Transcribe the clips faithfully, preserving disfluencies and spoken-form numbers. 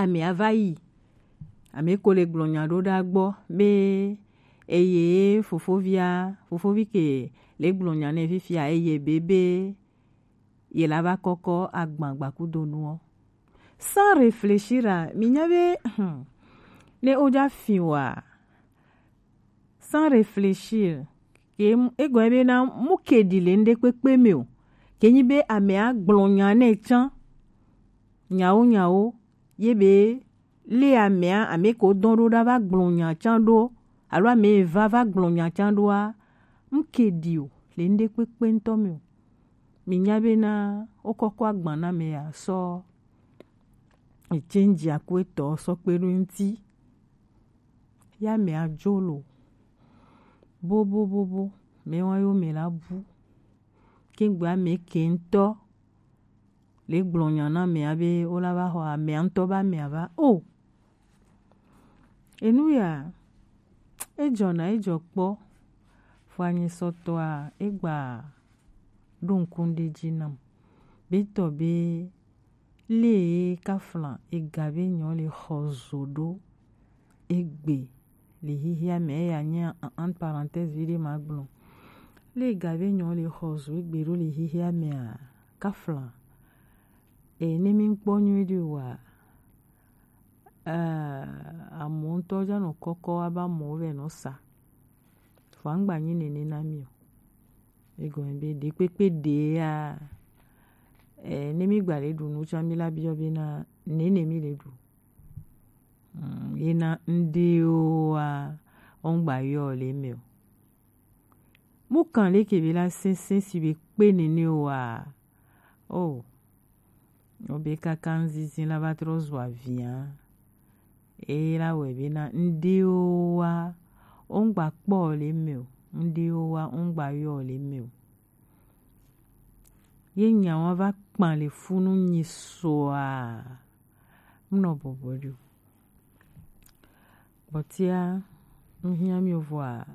Ame ava yi, ame ko le gblɔ nya ɖo ɖa gbɔ be eye fofovia, fofovi ke le gblɔ nya nɛ fifia, eye be be ye la va kɔkɔ agban gbakudo nuɔ. Sans réfléchir a, mi nya be ne o ja fin wa, sans réfléchir, ke egɔn be na mu ke ɖi le ŋɖe kpekpe me o, ke nyi be ame a gblɔ nya nɛ can nyawo nyawo, ye be le amea, ame ko dɔn ɖo ɖa va gblɔ nya can ɖo, alo ame va va gblɔ nya can ɖoa, mu ke ɖi o le ŋɖe kpekpe ŋutɔ me o. Mi nya be na wo kɔkɔ agban na me ya sɔ etsɛnji aku etɔ sɔ kpe ɖo ŋuti. Ya me a jo lo. Bo bo bo bo. Me wa yo me la bu. Kengbe ame ke ŋutɔ le gblɔ nya na amea be wo la va xɔ amea ŋutɔ be amea va o. Enu ya ejɔna ejɔ kpɔ. Fo anyisɔtɔa egba ɖo ŋku ɖe dzi nam be tɔ be le kafla ega be nyɔ le xɔ zo ɖo egbe le xixia me, eya nye en parenthèse vi ɖe ma gblɔ. Le ega be nyɔ le xɔ zo egbe ɖo le xixia mea, kafla e ne mi kpɔ nyuie ɖi wa, eh, amewo ŋutɔ dza nɔ kɔkɔ aba amewo vɛ nɔ sa. Vɔa ŋgba nyi nene na mi o. Egɔme be ɖe kpekpe ɖe ya, eh, ne mi gba le ɖu nu tsã mi la biɔ be na nene mi le ɖu. Mm, ye na ŋɖewoa, wo ŋgba yɔ le me o. Mu kan leke be la sese si be kpe nene o wa. Oh. Wo be kaka ŋzizi la va trɔ zu avia. Eye la wɛ be na ŋɖewoa, wo ŋgba kpɔ le me o. Ŋɖewoa, wo ŋgba yɔ le me o. Ye nyawa va kpan le funu nyi soa. Mnɔ bɔbɔ ɖi o. Kpɔtia, ŋhiã mi vɔa,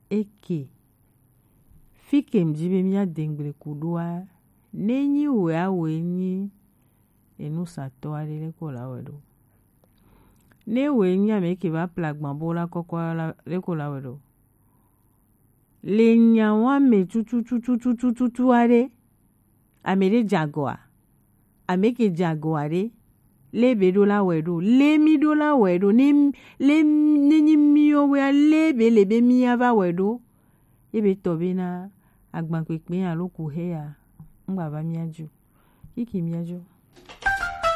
eke. Fi ke ŋdi be mía dengble ku ɖoa, ne nyi wea, wòe nyi enusatɔ aɖe, leke wòla wɛ ɖo? Ne wòe nyi ame ke va ple agban bo la kɔkɔ la, leke wòla wɛ ɖo? Le nyawa me tututututututu aɖe, ame ɖe dze agɔa? Ame ke dze agɔa ɖe, le be ɖo la wɛ ɖo, le mi ɖo la wɛ ɖo, ne le ne nyi miwo wea, le be le be mía va wɛ ɖo. Ye be tɔ be na agbankpekpe alo ku he ya, ŋgba va mía dzi o. Kiki mía dzi o.